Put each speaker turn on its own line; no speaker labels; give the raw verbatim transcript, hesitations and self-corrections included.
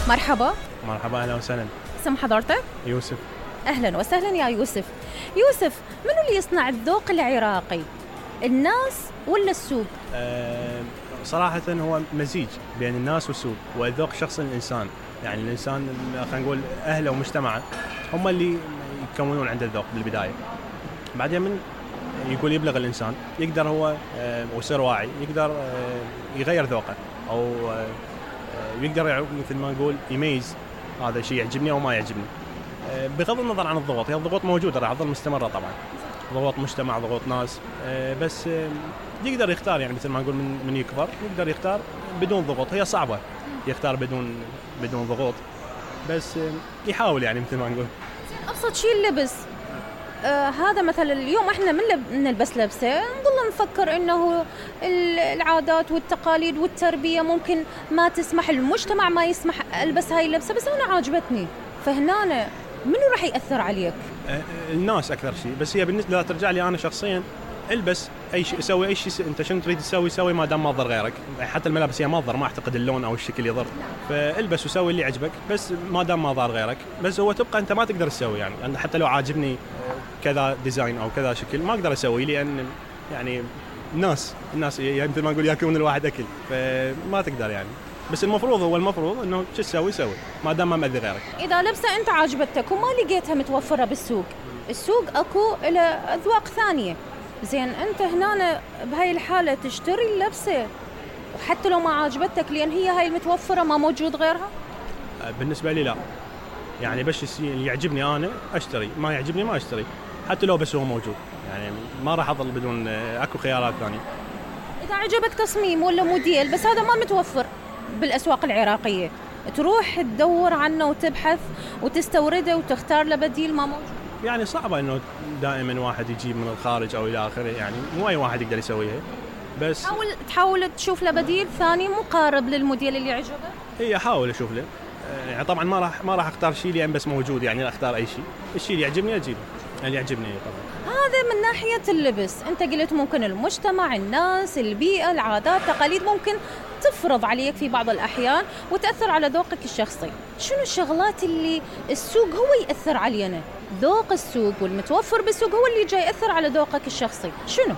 مرحبا.
مرحبا، أهلا وسهلا.
اسم حضرتك؟
يوسف.
أهلا وسهلا يا يوسف. يوسف، منو اللي يصنع الذوق العراقي؟ الناس ولا السوق؟
أه صراحة هو مزيج بين الناس والسوق، والذوق شخص الإنسان. يعني الإنسان خلينا نقول أهله ومجتمعه هم اللي يكونون عنده الذوق بالبداية. بعدين من يقول يبلغ الإنسان يقدر هو أه ويصير واعي، يقدر أه يغير ذوقه، أو أه يقدر مثل ما نقول يميز هذا الشيء يعجبني أو ما يعجبني. أه بغض النظر عن الضغوط، هي الضغوط موجودة راح تظل مستمرة طبعا، ضغوط مجتمع، ضغوط ناس، أه بس أه يقدر يختار. يعني مثل ما نقول من من يكبر يقدر يختار بدون ضغوط. هي صعبة يختار بدون بدون ضغوط، بس أه يحاول يعني مثل ما نقول.
أبسط شيء اللبس. آه هذا مثلا اليوم احنا من لب... نلبس لبسه نظل نفكر انه العادات والتقاليد والتربيه ممكن ما تسمح، المجتمع ما يسمح البس هاي اللبسه، بس انا عاجبتني. فهنا منو راح ياثر عليك؟
آه الناس اكثر شيء. بس هي بالنسبه لا ترجع لي انا شخصيا، البس اي شيء، سوي اي شيء انت شنو تريد تسوي سوي، ما دام ما تضر غيرك. حتى الملابس هي ما تضر، ما اعتقد اللون او الشكل يضر، فالبس وسوي اللي يعجبك بس ما دام ما ضار غيرك. بس هو تبقى انت ما تقدر تسوي، يعني حتى لو عاجبني كذا ديزاين او كذا شكل ما اقدر اسوي، لان يعني الناس الناس يعني مثل ما نقول ياكلون الواحد اكل، فما تقدر يعني. بس المفروض هو المفروض انه شو تسوي سوي ما دام ما مأذي غيرك.
اذا لبسه انت عاجبتك وما لقيتها متوفره بالسوق، السوق اكو له اذواق ثانيه، زين انت هنا بهاي الحاله تشتري اللبسه وحتى لو ما عاجبتك لان هي هاي المتوفره ما موجود غيرها؟
بالنسبه لي لا، يعني بس اللي يعجبني انا اشتري، ما يعجبني ما اشتري، حتى لو بس هو موجود. يعني ما راح اظل بدون، اكو خيارات ثانيه.
اذا عجبك تصميم ولا موديل بس هذا ما متوفر بالاسواق العراقيه، تروح تدور عنه وتبحث وتستورده وتختار له بديل ما موجود.
يعني صعبه انه دائما واحد يجيب من الخارج او الى اخره، يعني مو اي واحد يقدر يسويها. بس
تحاول تحاول تشوف له بديل ثاني مقارب للموديل اللي عجبك.
اي احاول اشوف له. يعني طبعا ما راح ما راح اختار شيء لان بس موجود، يعني اختار اي شيء، الشيء اللي يعجبني اجيبه، اللي يعجبني طبعا.
هذا من ناحيه اللبس. انت قلت ممكن المجتمع، الناس، البيئه، العادات، التقاليد ممكن تفرض عليك في بعض الاحيان وتاثر على ذوقك الشخصي. شنو الشغلات اللي السوق هو ياثر علينا؟ ذوق السوق والمتوفر بالسوق هو اللي جاي ياثر على ذوقك الشخصي. شنو؟